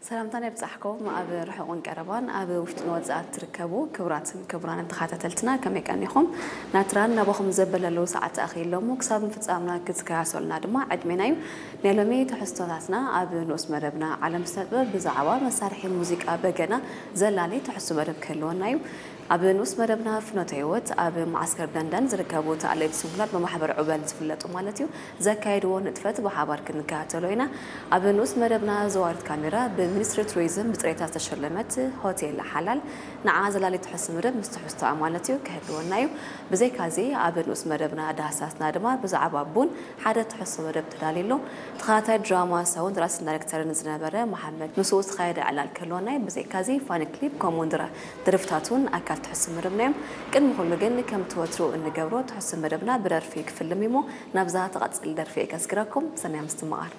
ሰላምታና ይብጻሕኩም። ኣብ ርሑቕን ቀረባን ኣብ ውሽጥን ወጻእን ትርከቡ ክቡራትን ክቡራንን ተኸታተልትና፣ ከመይ ቀኒኹም? ናትራን ናባኹም ዘበለለዉ ሰዓት ኣኺሎም ክሳብ ምፍጻምና ክትከታተሉና ድማ ዕድሜና እዩ። ናይ ሎሚ ትሕዝቶታትና ኣብ ንኡስ መደብና ዓለም ስነ ጥበብ ብዛዕባ መሳርሒ ሙዚቃ በገና ዘላሊ ትሕሱ መደብ ክህልወና እዩ። ኣብ ንኡስ መደብና ፍኖተ ህይወት ኣብ መዓስከር ደንደን ዝርከቡ ተኣለይቲ ስንኩላን ብማሕበር ዑበል ዝፍለጡ ማለት እዩ ዘካየድዎ ንጥፈት ብሓባር ክንከታተሎ ኢና። ኣብ ንኡስ መደብና ዘዋሪት ካሜራ ብሚኒስትሪ ቱሪዝም ብፅሬታ ዝተሸለመት ሆቴል ሓላል ንዓ ዘላሊ ትሕሱ መደብ ምስ ትሕዝቶኣ ማለት እዩ ክህልወና እዩ። ብዘይካዚ ኣብ ንኡስ መደብና ዳህሳስና ድማ ብዛዕባ ቡን ሓደ ትሕሱ መደብ ተዳልዩ ኣሎ። ተኸታታይ ድራማ ሰውን ደራስን ዳይሬክተርን ዝነበረ መሓመድ ምስኡ ዝተኻየደ ዕላል ክህልወና እዩ። ብዘይካዚ ፋኒ ክሊፕ ከምኡውን ድራ- ደርፍታት እውን ኣካል ትሕሱ መደብና እዮም። ቅድሚ ኩሉ ግን ከምቲ ወትሩ እንገብሮ ትሕሱ መደብና ብደርፊ ክፍልም እሞ ናብዛ ትቐጽል ደርፊ ከስግረኩም። ሰናይ ምስትምቓር።